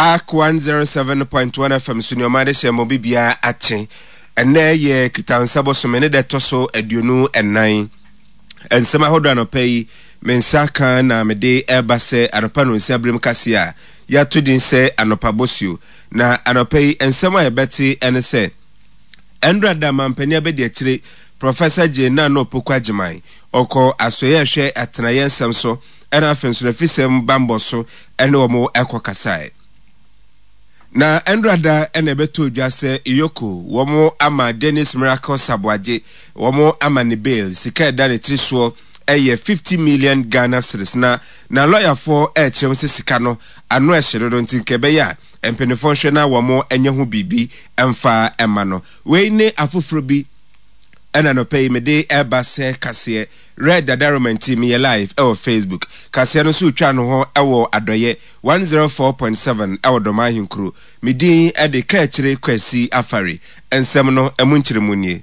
Ark 107.1 FM so nneɛma de hyɛ mmɔ bibiara akye. Ɛnnɛ yɛ Kitansa bosome ne da ɛtɔ so 24. Nsɛm ahodoɔ anɔpa yi me nsa ka na mede ɛreba sɛ anɔpa nonsia berem kaseɛ a yɛato din sɛ Anɔpa Bosuo. Na anɔpa yi nsɛm a yɛbɛte ɛne sɛ Ɛndra da mampanin abadiakyire Professor Jane Nana Opoku Agyemang ɔkɔ asoɛeɛ ɛhwɛ atenaeɛ nsɛm so ɛna afei nso n'afisɛm bammɔ so ɛne wɔn ɛkɔ kasae. Na ɛndra da ɛna ɛbɛtɔ dwa sɛ Iyoko wɔn ama Dennis Miracle Saboagye wɔn ama ne bail sika ɛda ne tiri soɔ ɛyɛ 50 million Ghana cedis na na lɔyafoɔ ɛrekyerɛ mu sɛ sika no ano ɛhye dodo nti nka ɛbɛyɛ a mpanimfoɔ nhwɛ na wɔn nyɛ ho biribi mfa mma no. Wei ne afoforɔ bi ɛna anɔpa yi mede ɛreba sɛ kaseɛ. Red Dadaroma nti meyɛ live ɛwɔ Facebook. Kaseɛ no nso retwa no hɔ ɛwɔ Adɔyɛ 104.7 ɛwɔ Dɔm Ahenkuro. Me din ɛde Kaakyire Kwasi Afari. Nsɛm no ɛmu nkyerɛmu nie.